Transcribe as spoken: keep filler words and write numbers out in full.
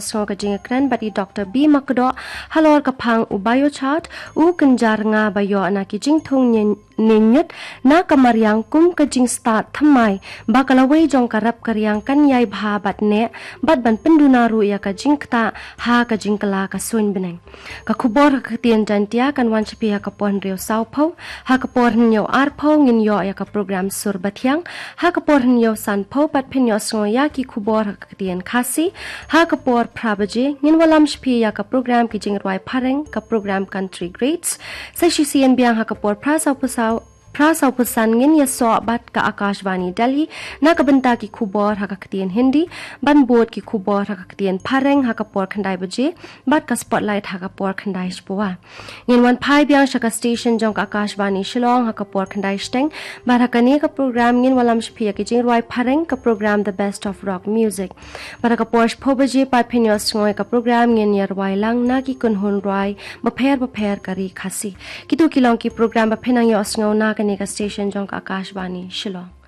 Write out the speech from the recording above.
Sngew ka jingkren bad i Doctor B Makdoh halor ka phang u Biochart, u kynjar nga ba ïoh na ki jingthung nyut na ka mariang kum ka jingstad thymmai ba ka lawei jong ka rep ka riang kan ïai bha bad neh bad ban pynduna ruh ïa ka jingktah ha ka jingkylla ka suiñ bneng. Ka khubor ha ka ktien Jaintia kan wan sha phi ha ka por hynriew saw phew, ha ka por hynñiew ar phew ngin ïoh ïa ka program Sur Bathiang, ha ka por hynñiew san phew pat phin ïoh sngew ïa ki khubor ha ka ktien Khasi, ha ka por phra baje ngin wallam sha phi ïa ka program ki jingrwai phareng, ka program Country Greats. Sa shisien biang ha ka por phra saw phew saw phra saw phew san ngin ïasoh bad ka Akashvani Delhi na ka bynta ki khubor ha ka ktien Hindi, ban bud ki khubor ha ka ktien phareng ha ka por khyndai baje bad ka Spotlight ha ka por khyndai shiphew. Ngin wan phai biang sha ka station jong ka Akashvani Shillong ha ka por khyndai shiteng, bad ha kane ka program ngin wallam sha phi ïa ki jingrwai phareng, ka program The Best of Rock Music. Bad ha ka por shiphew baje pat phin ïoh sngew ïa ka program ngin ïa rwai lang na ki kynhun rwai bapher bapher ka ri Khasi. Kito ki long ki program ba phin nang ïoh sngew na kane ka station jong ka Akashvani Shillong.